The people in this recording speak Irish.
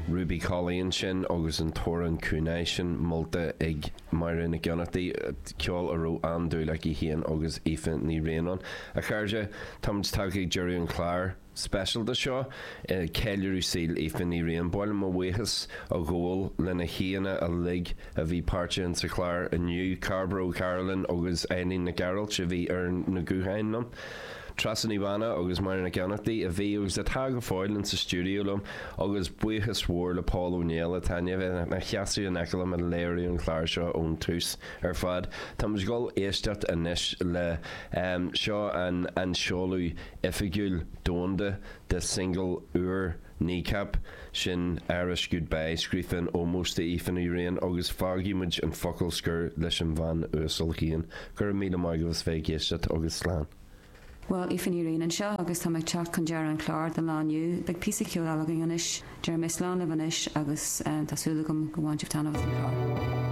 Ruby Collie ansin agus an t-amhrán Coonagh sin molta ag Máire Nic Fhionnachtaigh, ceol a raibh an-dúil aici féin agus Aoife Ní Riain ann. A chairde, táimid tagtha ag deireadh an chláir speisialta seo, ceiliúradh saoil Aoife Ní Riain. Ba mhaith liom mo bhuíochas a ghabháil le na haíonna uilig a bhí páirteach insa chlár inniu, Cairbre Ó Cairealláin agus Eileen Nic Gearailt a bhí ar na gutháin liom. Treasa Ní Mhathúna agus Máire Nic Fhionnachtaigh a bhí agus atá go fóill insa stiúideo liom agus buíochas mhór le Pól Ó Néill atá i ndiaidh bheith ina sheasamh in aice liom ag léiriú an chláir seo ón tús ar fad. Táimid ag dul éisteacht anois le seo an an seoladh oifigiúil domhanda de single úr Kneecap, sin Irish Goodbye, scríofa in ómós d'Aoife Ní Riain agus fágfaidh muid an focal scoir leis an bhean uasal féin. Go raibh míle maith agaibh as bheith ag éisteacht agus slán. Bhuel, Aoife Ní Riain anseo agus tá mé ag teacht chun deireadh an chláir don lá inniu. Beidh píosa ceoil eile againn anois. Déarfaidh mé slán libh anois agus tá súil agam go bhain sibh taitneamh as an chlár.